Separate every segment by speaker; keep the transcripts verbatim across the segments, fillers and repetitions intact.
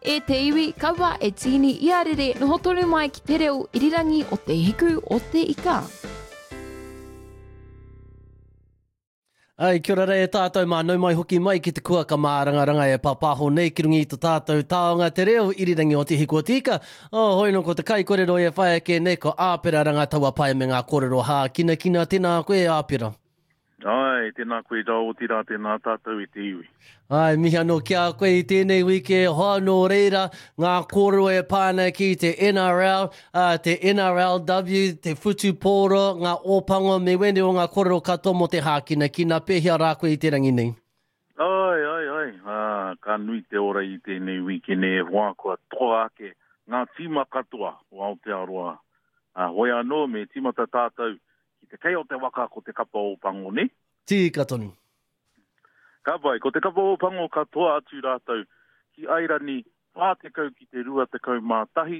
Speaker 1: E te iwi, kaua e tīni ia rere, noho tonu mai ki te reo irirangi o Te Hiku o Te Ika.
Speaker 2: Ai, kia ora rā e tātou mā, nau mai hoki mai ki te kuaka mārangaranga e pāpāho nei ki runga i to tātou taonga te reo irirangi o Te Hiku o Te Ika. Oh, hoi no ko te kaikorero e whai ake nei ko Āpera Rangataua me ngā kōrero hākinakina. Tēnā koe, Āpera.
Speaker 3: Ai, tēnā koe rā, otirā tēnā tātou i te iwi.
Speaker 2: Ai, mihi anō ki a koe i tēnei wiki, hoa nō reira, ngā kōrero e pā ana ki te N R L, uh, te N R L W, te whutupōro, ngā ōpango, me wēnei o ngā kōrero katoa mō te hākinakina. Pēhea rā koe i te rangi nei?
Speaker 3: Ai, ai, ai, ah, ka nui te ora i tēnei wikene e hoa kua toa ake ngā tīma katoa o Aotearoa. Ah, hoi anō, me tīmata tātou ki te kei o te waka ko te kapa o Pango, ne?
Speaker 2: Tika tonu.
Speaker 3: Ka pai, ko te kapa o Pango katoa atu rātou ki Airani whā tekau ki te rua tekau mā tahi,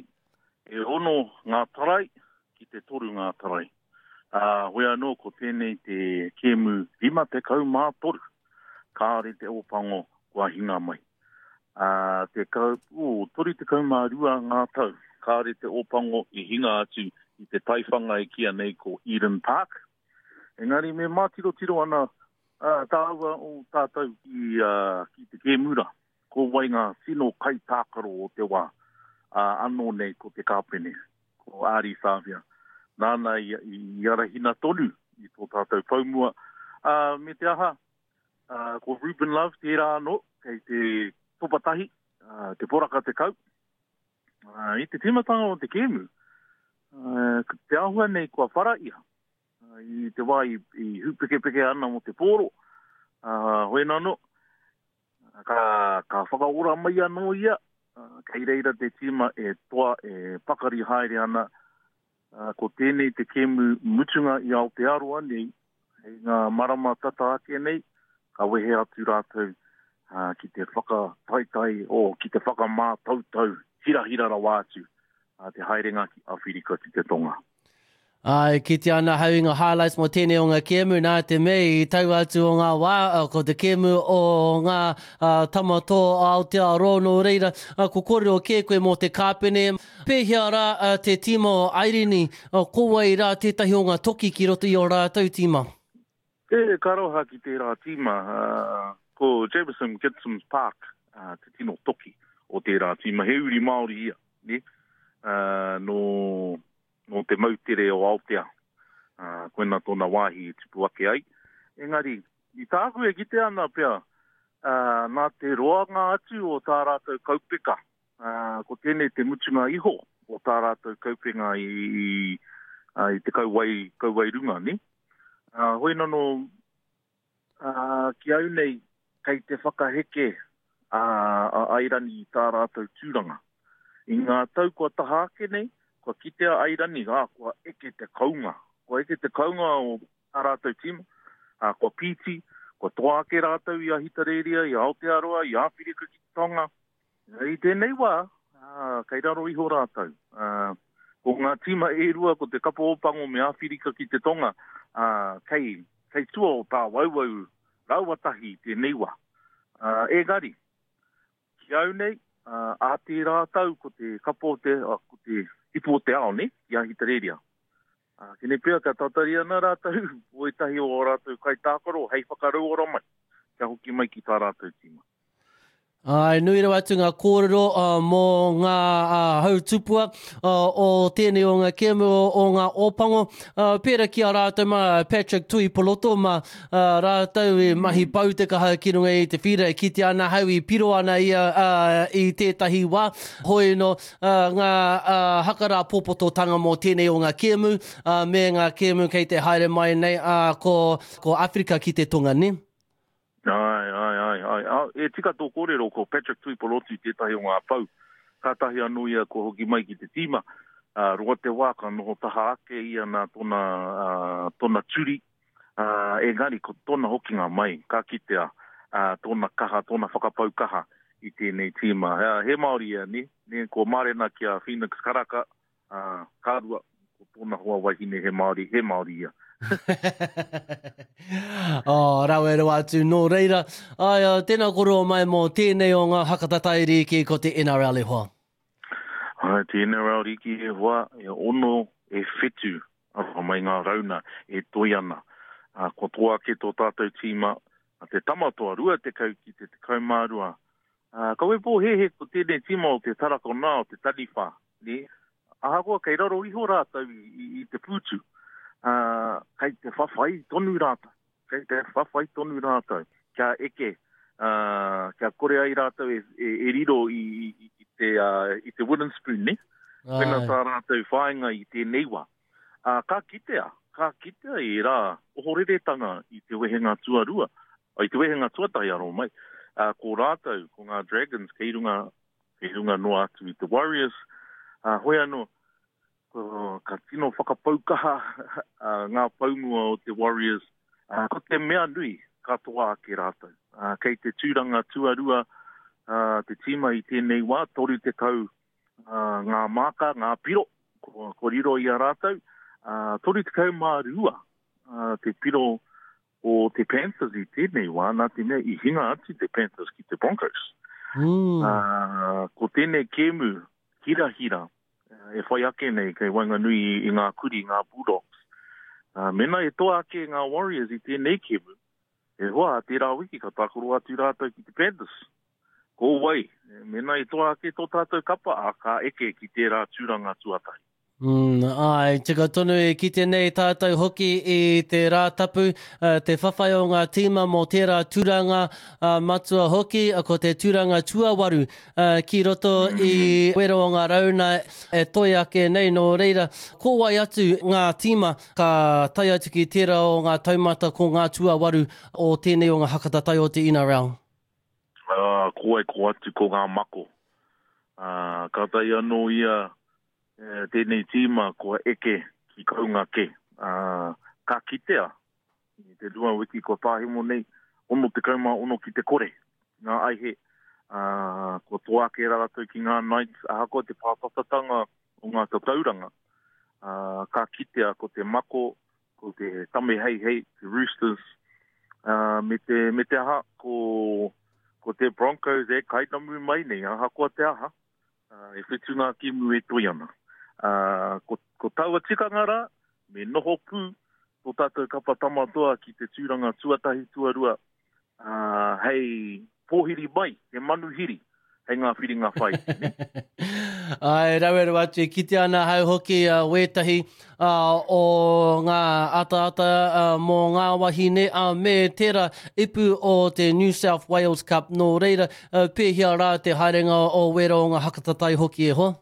Speaker 3: e ono ngā tarai ki te toru ngā tarai. Uh, hoi anō, ko tēnei te kēmu rima tekau mā toru. Kāore te Ōpango kua hinga mai. Uh, te kau, oh, toru tekau mā rua ngā tau. Kāore te Ōpango i hinga atu i te taiwhanga e kia nei ko Eden Park. Engari me mātirotiro ana uh, tāua o tātou ki, uh, ki te kēmura. Ko wai ngā tino kaitākaro o te wā. Uh, anō nei ko te kāpene, ko Ari Savia. Nāna i, i arahina tonu i tō tātou paumua. Uh, me te aha, uh, ko Ruben Love tērā anō, kei te topatahi, uh, te poraka te kau. Uh, I te tīmatanga o te kēmu, uh, te āhua nei kua whara ia. Uh, i te wā i, i hupekepeke ana mō te pōro. Uh, hoi nano, ka, ka whakaora mai anō ia, uh, kei reira te tīma e toa e pakari haere ana. Uh, ko tēnei te kēmu mutunga i Aotearoa nei, hei ngā marama tata ake nei, ka wehe atu rātou uh, ki te whakataitai o ki te whakamātautau hirahira rawa atu uh, te haerenga ki Awhirika ki te Tonga.
Speaker 2: Ai, ki te ana hau i ngā highlights mō tēnei o ngā kēmu, nā te mea i tau atu o ngā wā, ko te kēmu o ngā uh, tamato Aotearoa nō reira, uh, ko kōrero kē koe mō te kāpene. Pēhea rā uh, te tīma o Airini, uh, ko wai rā tētahi o ngā toki ki roto i o rātou tīma?
Speaker 3: E, ka roha ki tērā tīma, uh, ko Jamison Gibson Park uh, te tino toki o tērā tīma. He uri Māori ia, ne? Uh, no, no te moutere o Aotea. Uh, koina tōna wāhi i tupu ake ai. Engari, i tāku e kite ana pea, uh, nā te roanga atu o tā rātou kaupeka. Uh, ko tēnei te mutunga iho o tā rātou kaupenga i, i, uh, i te kauwai, kauwai runga, ne? Uh, hoi nano, uh, ki au nei, kei te whakaheke a, a Airani i tā rātou tūranga. I ngā tau kua taha ake nei, kua kitea Airani, ā, kua eke te kaunga. Kua eke te kaunga o tā rātou tīma, ā, kua pīti, kua toa ake rātou i Ahitereiria, i Aotearoa, i Āwhirika ki te Tonga. I tēnei wā, ā, kei raro iho rātou. Ā, ko ngā tīma e rua, ko te kapa Ōpango me Āwhirika ki te Tonga, ā, kei, kei tua o tā wauwau raua tahi i tēnei wā. Ā, engari, ki au nei, ā, ā tērā tau ko te kapa o te, ā, ko te ipu o te ao, ne, ki Ahitereiria. Ā, kene pea ka tatari ana rātou, o ētahi o rātou kaitākaro hei whakarauora mai, kia hoki mai ki tā rātou tīma.
Speaker 2: Ai, nui rawa atu ngā kōrero, uh, mō ngā, uh, hautupua, uh, o tēnei o ngā kēmu o, o ngā ōpango. Uh, pērā ki a rātou mā Patrick Tuipolotu mā, uh, rātou i mahi pau te kaha ki runga i te whira, e kite ana hau i piro ana ia, uh, i tētahi wā. Hoi no, uh, ngā, uh, hakarā pōpototanga mō tēnei o ngā kēmu, uh, me ngā kēmu kei te haere mai nei, uh, ko, ko Afrika ki te Tonga, ne?
Speaker 3: Ai, ai, ai, ai. A, e tika tō kōrero ko Patrick Tuipolotu tētahi o ngā pau. Kātahi anō ia ko hoki mai ki te tīma. Uh, roa te wā ka noho taha ake ia nā tōna, uh, tōna turi. Uh, engari ko tōna hokinga mai, ka kitea, uh, tōna kaha, tōna whakapau kaha i tēnei tīma. Uh, he Māori ia, ne? Ne, ko Marena ki a Phoenix Karaka, uh, ka rua, ko tōna hoa wahine he Māori, he Māori ia.
Speaker 2: Oh, rawe rawa atu nō reira. Ai, uh, tēnā koroa mai mō tēnei o ngā hakatatai rīki ko te N R L e hoa.
Speaker 3: Ai, te N R L rīki e hoa, e ono e whetu, aroha mai ngā rauna e toi ana. Uh, ko toa ake tō tātou tīma, a te tamatoa, rua tekau ki te tekau mā rua. Uh, kawe pōhehe ko tēnei tīma o te tarakona o te taniwha. Ne? Ahakoa kei raro iho rātou i, i, i te pūtu. Uh, kei te whawhai tonu rātou. Kei te whawhai tonu rātou. Kia eke, uh, kia kore ai rātou e, e, e riro i, i, i, te, uh, i te wooden spoon, ne? Pena tā rātou whāinga i tēnei wā. Uh, ka kitea, ka kitea i rā ohoreretanga i te wehenga tuarua, i te wehenga tuatahi aro mai. Uh, ko rātou, ko ngā Dragons, kei runga, kei runga noa atu i te Warriors. Uh, hoi anō, ko, ka tino whakapaukaha uh, ngā paumua o te Warriors. Uh, ko te mea nui, ka toa ake rātou. Uh, kei te tūranga tuarua uh, te tīma i tēnei wā, toru tekau uh, ngā māka, ngā piro, ko, ko riro i a rātou. Uh, toru tekau mā rua uh, te piro o te Panthers i tēnei wā, nā te mea i hinga atu te Panthers ki te Broncos.
Speaker 2: Mm.
Speaker 3: Uh, ko tēnei kēmu hirahira e whai ake nei kei waenganui i ngā kuri, ngā Bulldogs. Uh, mena e toa ake ngā Warriors i tēnei kēmu, e hoa, tērā wiki ka tākaro atu rātou ki te Panthers. Ko wai, mena e toa ake tō tātou kapa, a ka eke ki tērā tūranga tuatahi.
Speaker 2: Mm, ai, tika tonu e kite nei tātou hoki i te Rātapu, te whawhai o ngā tīma mō tērā tūranga uh, matua hoki, ko te tūranga tuawaru uh, ki roto i wero o ngā rauna e toi ake nei nō reira. Ko wai atu ngā tīma ka tae atu ki tērā o ngā taumata ko ngā tuawaru o tēnei o ngā hakatatai o te N R L?
Speaker 3: Uh, ko wai ko atu ko ngā mako. Uh, ka tai anō ia tēnei tīma kua eke ki kaunga ke. Uh, ka kitea i te rua wiki kua tāhimo nei, ono te kaumā ono ki te kore, ngā aihe. Uh, kua toa ake rātou ki ngā Knights, ahakoa te pātatatanga o ngā tatauranga. Uh, ka kitea ko te mako, ko te tame hei hei, te Roosters, uh, me, te, me te aha, ko, ko te Broncos e kainamu mai nei, ahakoa te aha, uh, e whitu ngā kimu e toi ana. Uh, ko, ko taua tikanga rā, me noho pū tō tātou kapa tamatoa ki te tūranga tuatahi tuarua, uh, hei pōhiri mai, he manuhiri, hei ngā whiringa whai.
Speaker 2: Ai, rawe rawa atu, kite ana hau hoki uh, wētahi uh, o ngā ataata uh, mō ngā wahine, uh, me tērā ipu o te New South Wales Cup nō reira, uh, pēhia rā te haerenga o wera o ngā hakatatai hoki e hoa?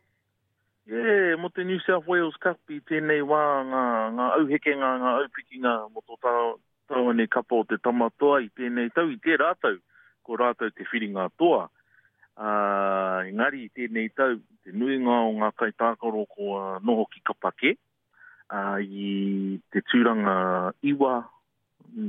Speaker 3: Yeah, mō te New South Wales Cup i tēnei wā ngā, ngā auhekenga, ngā aupikinga mō tō tāua nei kapa o te tamatoa i tēnei tau, i tērā tau, ko rātou te whiringa toa. Uh, engari i tēnei tau, te nuinga o ngā kaitākaro ko uh, noho ki kapa kē, uh, i te tūranga iwa,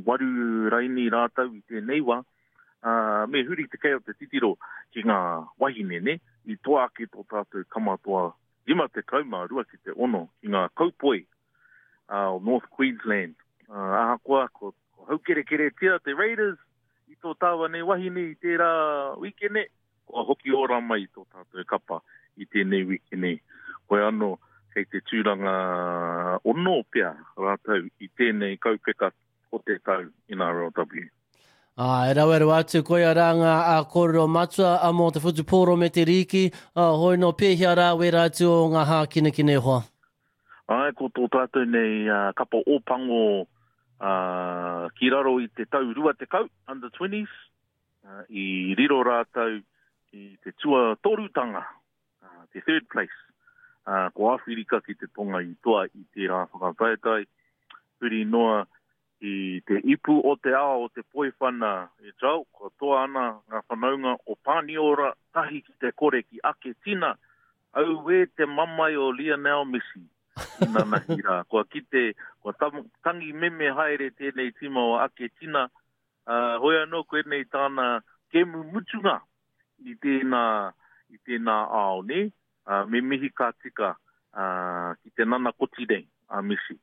Speaker 3: waru raini rātou i tēnei wā, uh, me huri te kei o te titiro ki ngā wahine, ne? I toa ake tō tātou kamatoa rima te kaumā rua ki te ono ki ngā kaupoi uh, o North Queensland. Uh, ahakoa ko, ko haukerekeretia te Raiders i tō tāua nei wahine i tērā wikene, kua hoki ora mai tō tātou kapa i tēnei wikene. Koe anō, kei te tūranga ono pea rātou i tēnei kaupeka o te tau N R L W.
Speaker 2: Ah, e rawe rawa atu, koia rā ngā a kōrero matua a mō te whutupōro me te rīki, a, hoi no pēhia rā wera atu o ngā hākinekine hoa.
Speaker 3: Ai, ko tō tātou nei uh, kapa ōpango uh, ki raro i te tau rua tekau, under twenties, uh, i riro rātou i te tuatorutanga, uh, te third place. Uh, ko Āwhirika ki te tonga i toa i tērā whakataetae, huri noa i te ipu o te ao o te poiwhana e tau, kua toa ana ngā whanaunga o Pāniora tahi ki te kore ki Aketina, auē te mamae o Lionel Messi i nanahi rā. Kua kite, kua tangi meme haere tēnei tīma o Aketina, uh, hoi anō koe nei tāna kemu mutunga i tēnā, i tēnā ao, ne? Uh, me mihi ka tika uh, ki te nana koti nei a Messi.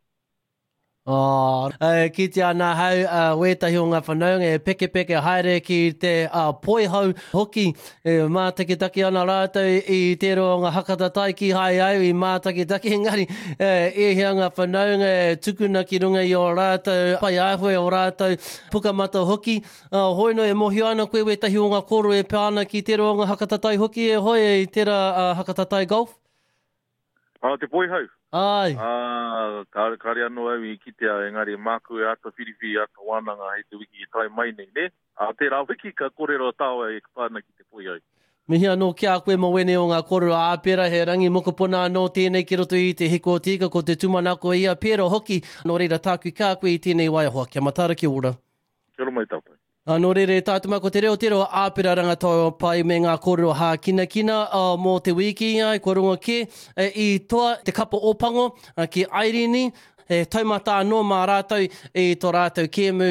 Speaker 2: Oh, e kitea ana ahau uh, wētahi o ngā whanaunga e pekepeke haere ki te uh, poihau hoki. E mātakitaki ana rātou i tērā o ngā hakatatai ki hai au i mātakitaki engari e, e hea ngā whanaunga e tukuna ki runga i o rātou pai āhua o rātou pukamata hoki. Uh, hoi no e mōhio ana koe wētahi o ngā kōrero e pā ana ki tērā o ngā hakatatai hoki e hoi i tērā uh, hakatatai golf?
Speaker 3: Ah, te poihau?
Speaker 2: Ai.
Speaker 3: Ah, kāre, kāre anō au i kitea, engari māku e āta whiriwhiri, āta wānanga hei te wiki e tae mai nei, nē? Ā, tērā wiki ka kōrero tāua e pā ana ki te poihau.
Speaker 2: Mihi anō ki a koe mō wēnei o ngā kōrero ā-pera, he rangi mokopuna anō tēnei ki roto i te hiko o te ika, ko te tūmanako ia pera hoki, nō reira tāku ki a koe i tēnei wā e hoa, kia mataara kia ora.
Speaker 3: Kia ora mai tātou.
Speaker 2: Nō reira e tātou mā, ko te reo te reo āpera rangatau pai me ngā kōrero hākinakina mō te wiki, ai, kua rongo kē i toa te kapa Ōpango ki Airini, he taumata anō mā rātou i tō rātou kēmu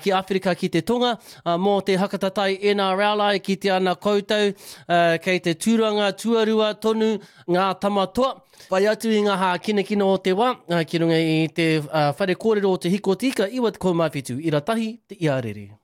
Speaker 2: ki Āwherika ki te Tonga mō te hakatatai N R L ai kitea ana koutou kei te tūranga tuarua tonu ngā tama toa. Whai atu i ngā hākinakina o te wā, ki runga i te whare kōrero o Te Hiko o Te Ika, iwa tekau mā whitu, ira tahi, te iarere.